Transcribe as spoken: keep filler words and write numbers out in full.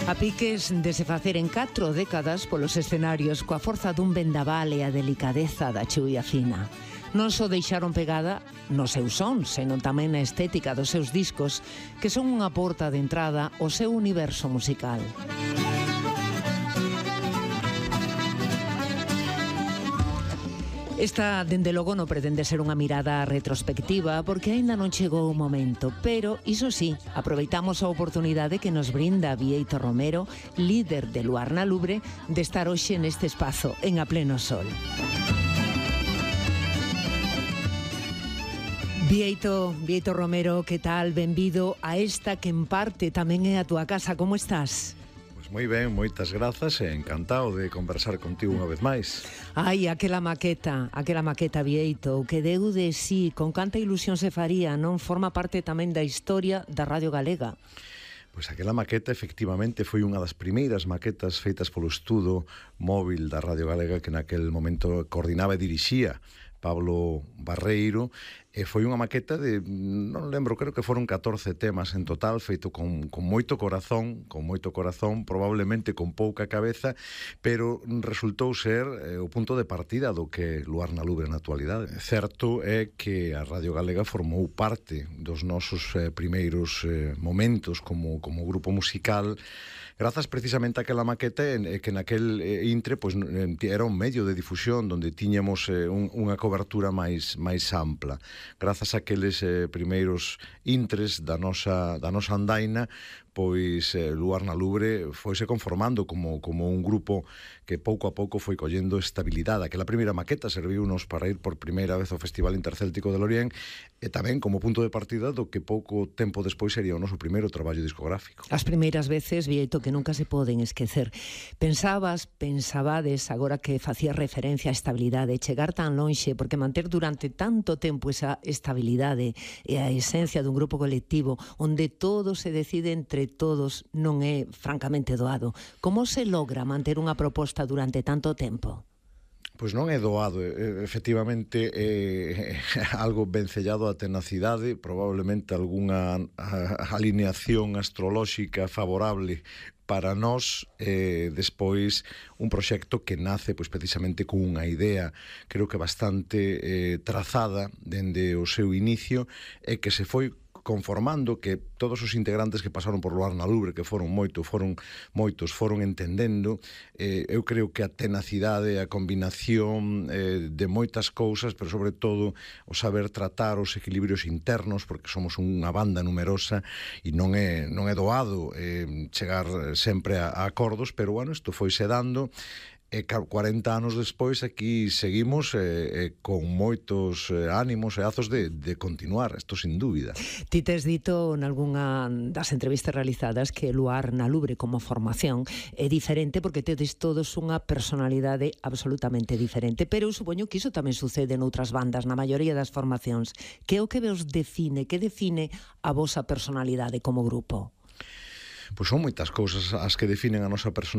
A piques de se facer en catro décadas polos escenarios coa forza dun vendaval e a delicadeza da chuvia fina. Non só deixaron pegada nos seus sons, senón tamén na estética dos seus discos, que son unha porta de entrada ao seu universo musical. Esta, dende logo, non pretende ser unha mirada retrospectiva porque aínda non chegou o momento, pero, iso sí, aproveitamos a oportunidade que nos brinda Bieito Romero, líder de Luar na Lubre, de estar hoxe neste espazo, en A Pleno Sol. Bieito, Bieito Romero, que tal? Benvido a esta que en parte tamén é a túa casa. Como estás? Moi ben, moitas grazas e encantado de conversar contigo unha vez máis. Ai, aquela maqueta, aquela maqueta, Bieito, que deu de sí, con canta ilusión se faría, non? Forma parte tamén da historia da Radio Galega. Pois aquela maqueta efectivamente foi unha das primeiras maquetas feitas polo estudo móvil da Radio Galega que naquel momento coordinaba e dirixía Pablo Barreiro, e foi unha maqueta de, non lembro, creo que foron catorce temas en total, feito con, con moito corazón, con moito corazón, probablemente con pouca cabeza, pero resultou ser eh, o punto de partida do que Luar na Lubre na actualidade. Certo é que a Radio Galega formou parte dos nosos eh, primeiros eh, momentos como, como grupo musical, grazas precisamente a aquela maqueta eh, que naquel eh, intre pois, era un medio de difusión onde tiñamos eh, un, unha cobertura máis, máis ampla. Grazas a aqueles eh, primeiros intres da nosa, da nosa andaina, pois eh, Luar na Lubre foise conformando como, como un grupo que pouco a pouco foi collendo estabilidade. Aquela primeira maqueta serviunos para ir por primeira vez ao Festival Intercéltico de Lorient e tamén como punto de partida do que pouco tempo despois sería o noso primeiro traballo discográfico. As primeiras veces, Bieito, que nunca se poden esquecer. Pensabas, pensabades, agora que facías referencia á estabilidade, chegar tan lonxe, porque manter durante tanto tempo esa estabilidade e a esencia dun grupo colectivo onde todo se decide entre todos non é francamente doado. Como se logra manter unha proposta durante tanto tempo? Pois non é doado, efectivamente é algo vencellado á tenacidade, probablemente algunha alineación astrolóxica favorable para nós, eh, despois un proxecto que nace pois, precisamente con unha idea, creo que bastante eh, trazada dende o seu inicio e que se foi conformando, que todos os integrantes que pasaron por Luar na Lubre, que foron moito, foron moitos, foron entendendo. Eh, eu creo que a tenacidade, a combinación eh, de moitas cousas, pero sobre todo o saber tratar os equilibrios internos, porque somos unha banda numerosa e non é, non é doado eh, chegar sempre a, a acordos, pero bueno, isto foise dando. E cuarenta anos despois aquí seguimos eh, eh, con moitos eh, ánimos e azos de, de continuar, isto sin dúbida. Ti tes dito nalgúnha das entrevistas realizadas que Luar na Lubre como formación é diferente porque tedes todos unha personalidade absolutamente diferente, pero eu supoño que iso tamén sucede noutras bandas, na maioría das formacións. Que é o que vos define, que define a vosa personalidade como grupo? Pois son moitas cousas as que definen a nosa personalidade.